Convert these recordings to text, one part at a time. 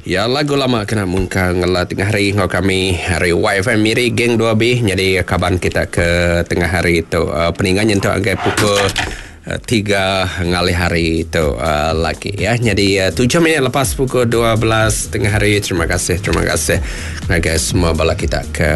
Ya lagu lama kena mungkal ngela tengah hari enggau kami ari YFM Miri geng 2B nyadi kaban kita ke tengah hari tu uh, peninga nyentuk ngagai pukul uh, 3 ngalih hari tu uh, lagi ya. Nyadi uh, 7 minit lepas pukul 12 tengah hari terima kasih terima kasih ngagai semua bala kita ke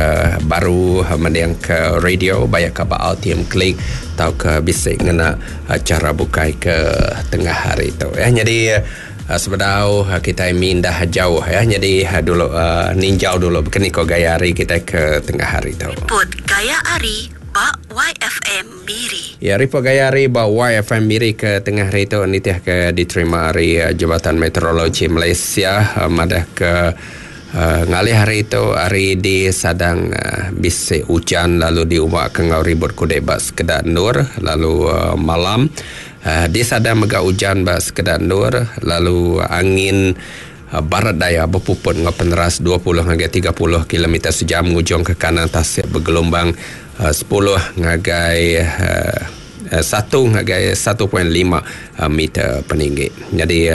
baru mending ke radio bayak ke ba RTM Click tauka bisi ngena acara bukai ke tengah hari tu ya. Nyadi Sebedau kitai mindah jauh ya nyadi dulu ninjau dulu baka ni ko gaya hari kitai ke tengah hari tu. Ripot gaya hari ba YFM Miri. Ya ripot gaya hari ba YFM Miri ke tengah hari tu nitih ke diterima ari Jabatan Meteorologi Malaysia madah ke ngalih hari tu hari di sadang bisi ujan lalu diuba ke enggau ribut kudek ba sekeda endur lalu malam Di Sadang mega ujan ba sekeda endur lalu angin barat daya bepuput enggau peneras 20 ngagai 30 kilometer sejam ngujungka kanan tasik begelumbang sepuluh ngagai satu ngagai satu point lima meter peninggi. Nyadi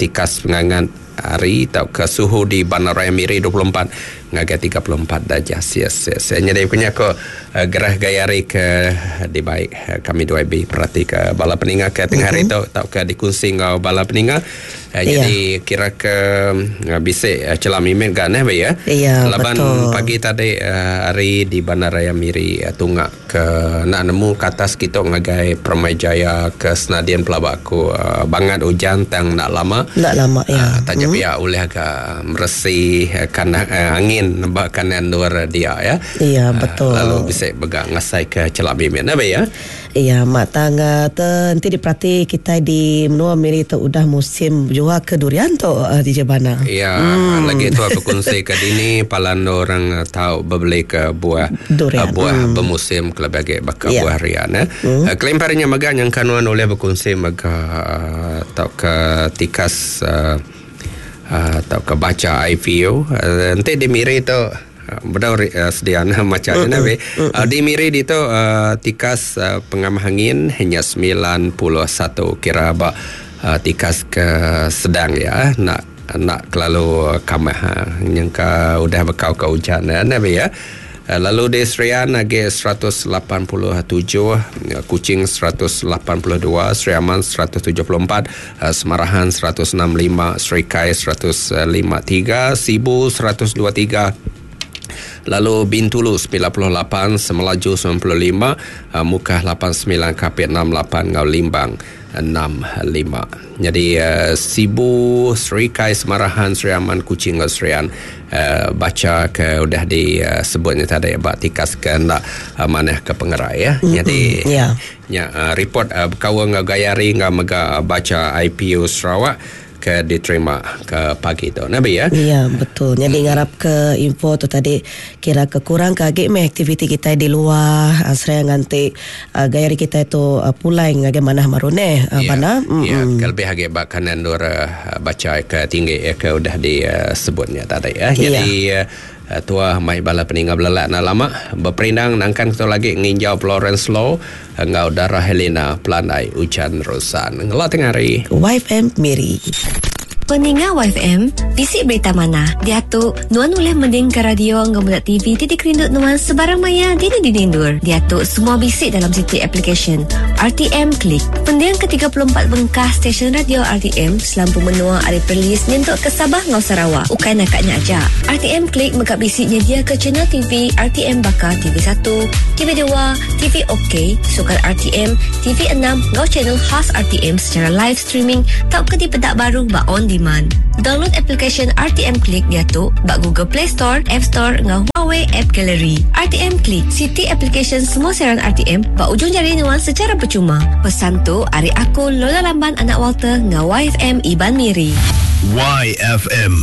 tikas pengangat hari tauka suhu di Bandaraya Miri 24 ngagai 34 darjah Celsius. Nyadi ku nya ko gerah gaya hari ke dibai kami dua ibi peratika bala peninga ke tengah hari tu tauka dikunsi enggau bala peninga. Nyadi kira ke bisi chelap mimit ga neh ba iya. Laban pagi tadi hari di Bandaraya Miri tunga ke enda nemu ke atas kitu ngagai Permai Jaya ke Senadin pelaba aku bangat ujan tang enda lama. Enda lama iya. Taja pia ulih ga meresi kanan angin ba kanan endur dia ya. Iya betul. Lalu bisi mega ngasai ke chelap mimit ne ba iya. Iya mak tang te enti diperati kitai di menua Miri tu udah musim bejual ke durian tu DJ Bana. Iya lagi tu bekunsi ke dini palan orang tau bebeli ke buah durian. Buah bemusim kelebih agi baka buah rian eh. Kelimpah ari nya mega nyangka nuan ulih bekunsi mega tauka tikas tauka bacha IPU enti di Miri tu Bedau sedia ne macha nya nah Di Miri ditu tikas pengamah angin nya 91 kira ba tikas ke sedang iya enda enda kelalu kamah nyengka udah bekau ke ujan ne nah Lalu di Serian agi 187, Kuching 182, Sri Aman 174, Semarahan 165, Serikai 153, Sibu 123, lalu Bintulu 98, Semelaju 95, Mukah 89, Kapit 68 enggau Limbang 65. Nyadi Sibu, Serikai, Semarahan, Sri Aman, Kuching enggau Serian bacha ke udah disebut nya tadi ba tikas ke enda manah ke pengerai ya. Nyadi Nya ripot bekaul enggau gaya hari enggau mega bacha IPU Sarawak ke diterima ke pagi tu. Nabi ya. Ya betul. Nyadi ngarap ke info tu tadi kira ke kurang ke agi meh aktiviti kitai di luar seraya nganti gaya hari kitai tu pulai ngagai manah baru neh bana. Ya, ke lebih agi ba kanan endur bacha ke tinggi ke udah disebut nya tadi ya. Nyadi Tua mai bala peninga belelak enda lama beperindang nangkan ketu lagi nginjau Florence Law enggau Dara Helena Pelandai Ujan Rusan. Ngela tengah hari. YFM Miri. Peninga YFM, bisi berita manah. Diatu, nuan ulih mendingka radio enggau meda TV ti dikerindu nuan sebarang maya dini-dini endur. Diatu, semua bisi dalam siti aplikasyen RTM Click. Pendingka 34 bengkah stesen radio RTM Selampur menua ari Perlis nyentuk ke Sabah enggau Sarawak. Ukai naka nya aja. RTM Klik mega bisi nyediaka channel TV RTM baka TV satu, TV dua, TV OK, Sukan RTM, TV enam enggau channel khas RTM secara live streaming tauka dipeda baru ba on demand. Download aplikasyen RTM Klik diatu ba Google Play Store, App Store enggau Huawei App Gallery. RTM Klik, siti aplikasyen semua siaran RTM ba ujung jari nuan secara percuma. Pesan tu ari aku Lola Lamban anak Walter enggau YFM Iban Miri. YFM.